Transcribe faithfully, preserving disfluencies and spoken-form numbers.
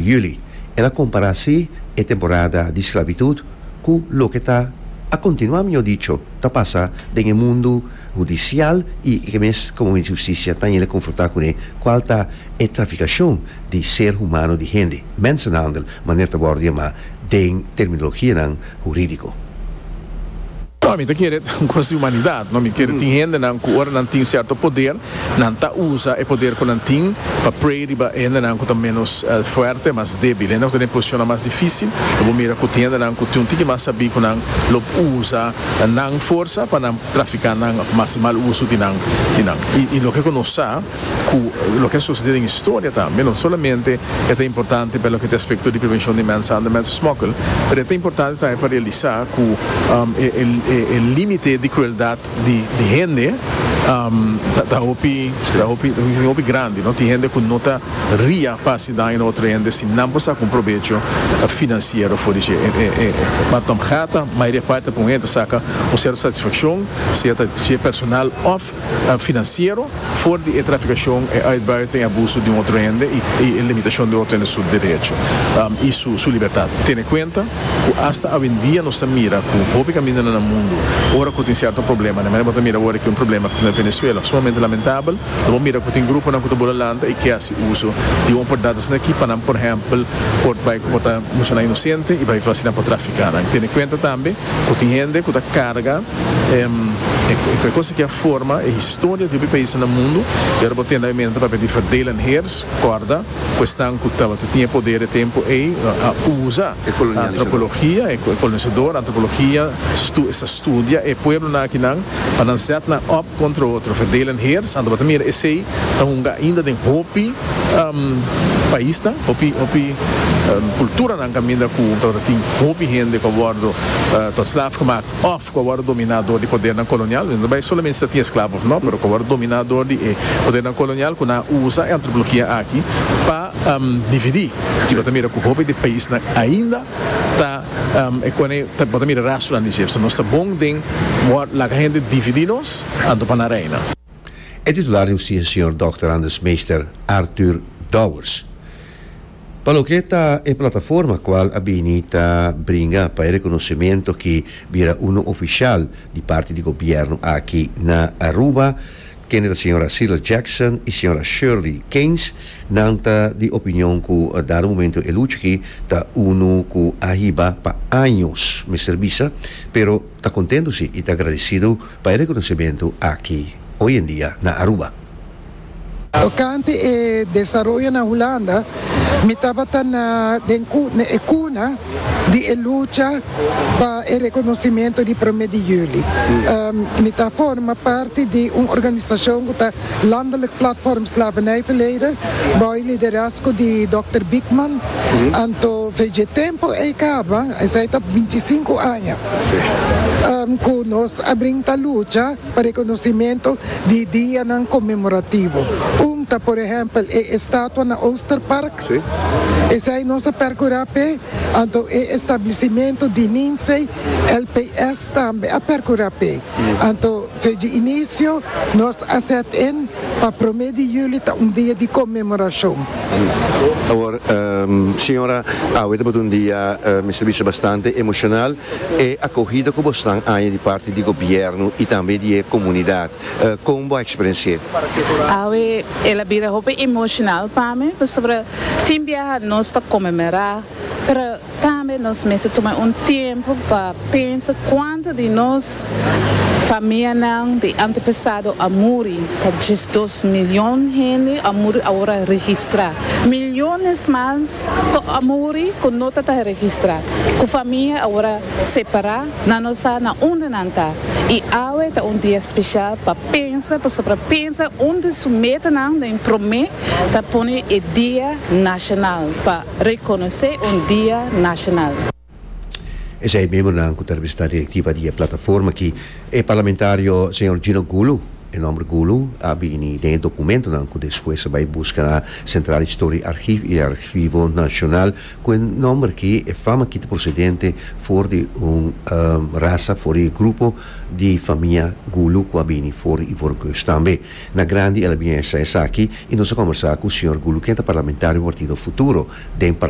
Juli. El a compara si e temporada di sclavitud cu loke ta a continua, mihor dicho, ta pasa den mundo hudicial y cu mes como husticia ta confronta cu ne, cual ta e traficacion di ser humano, di hende, mensenhandel, manera ta wordo yama den terminologia huridico. No, mi ta kere un cos di humanidad, no? Mi kere tin hendenan cu ora nan tin cierto poder, nan ta usa e poder cu nan tin pa prey riba hendenan cu ta menos uh, fuerte, mas debil, nan tin posicion mas dificil. Bo mira cu tin hendenan cu tin un tiki mas sabi cu nan lo usa nan forsa pa nan trafica nan of mas mal uso di nan di nan. Y, y loke nos sa cu loke a sucede den historia tambe, no solamente ta importante pa loke ta aspecto di prevencion di mensenhandel, mensensmokkel, mas ta importante tambe pa realisa cu um, e, e, e limite di crueldad di, di hende um, ta, ta hopi ta hopi hopi grandi, no? Tin hende cu no ta ria pa haci daño na otro hende si nan por saca un probecho financiero for di e, e, e, maar tom gata maioria parte pa un hende saca un cierto satisfaccion, sea ta personal of uh, financiero, for di e traficacion y uitbuiting, abuso di un otro hende y, y limitacion di otro hende su derecho um, y su, su libertad. Tene cuenta cu hasta hoy en dia nos ta mira cu hopi caminda na mundo, ora cu tin cierto problema, no? Bo ta mira awor cu un problema na Venezuela, sumamente lamentabel, bo mira cu tin gruponan cu ta lanta y cu haci uso di un oportunidad aki pa, por ehempel, por bay por ta inocente y bay asina pa trafica. Tene cuenta tambe cu tin hende cu ta carga um, e cos cu a forma e historia di pais na mundo y awor bo tin pa di verdeel en heers, corda cuestion cu tabata tin poder e tempo y a usa antropologia e colonisador, antropologia stu, esta studia e pueblonan aki nan pa nan zet nan op contra otro, verdeel en heers. Anto bo ta mira esey ta hunga ainda den hopi um, pais, hopi hopi um, culturanan caminda cu tin hopi hende cu a wordo uh, tot slaaf gemaakt of cu a wordo domina door di podernan colonial. No ta solamente tin esclavo of no, pero cu a wordo domina door di eh, podernan colonial cu a usa e antropologia aki pa um, dividi. Y bo ta mira cu hopi di paisnan ainda ta um, e cu ta bo ta mira rastronan di dje. Nos ta bon den laga hende dividi nos anto pa reina. E titular di husticia, señor Doctor Anders Meester Arthur Dowers. Pa loke ta e plataforma cual a bini ta bringa pa e reconocimento cu bira uno oficial di parti di gobierno aki na Aruba, kende señora Sheila Jackson y señora Shirley Keynes, nan ta di opinion cu dado momento e lucha aki ta uno cu a hiba pa aña, mester bisa, pero ta contento si y ta agradecido pa e reconocimento aki hoy en dia na Aruba. Tocante e desaroyo na Hulanda, mi tabata na den na e cuna di e lucha pa e reconocimento di prome di juli. Um, mi ta forma parti di un organisacion cu ta Landelijk Platform Slavernijverleden, bou liderazgo di Doctor Biekman. Anto, for di e tempo ey caba, esey ta binticinco aña. Um, cu nos a bringa lucha pa reconocimento di dianan conmemorativo. Un ta, por ehempel, e estatua na Oosterpark. Si. Esey nos a percura p'e, anto e establecimento di NiNsee, L P S tambe a percura p'e. Anto, di inicio, nos a zet in pa prome di juli ta un dia di conmemoracion. Awor, um, señora, awe ta un dia, uh, mester bisa, bastante emocional e acogida cu boso a haya di parti di gobierno y tambe di comunidad. Uh, con bo a experiencia? Awe el a bira hopi emocional pa mi, pasobra tin biaha nos ta conmemora, pero tambe nos mester tuma un tempo pa pensa cuanto di nos famianan di antepasado a muri, ta diesdos miyon hende a muri awor registra. Miyones mas a muri cu no ta registra. Cu famia awor separa, nan no sa na unda nan ta. Y awe ta un dia special pa pensa, pa pensa unda su metanan den prome ta pone e dia nacional pa reconoce un dia nacional. Esey miembronan cu ta directiva di e plataforma aki, e parlamentario señor Gino Goeloe. E nomber Goeloe a bini den documentonan cu despues a bay busca na Centraal Historisch Archief y Archivo Nacional, cu e nomber aki, e fama aki ta procedente for di un um, rasa, for di grupo di famia Goeloe cu a bini for di Ivoorkust tambe. Na grandi el a bin sa esaki y nos a combersa cu señor Goeloe, cu ta parlamentario di Partido Futuro den parlamento.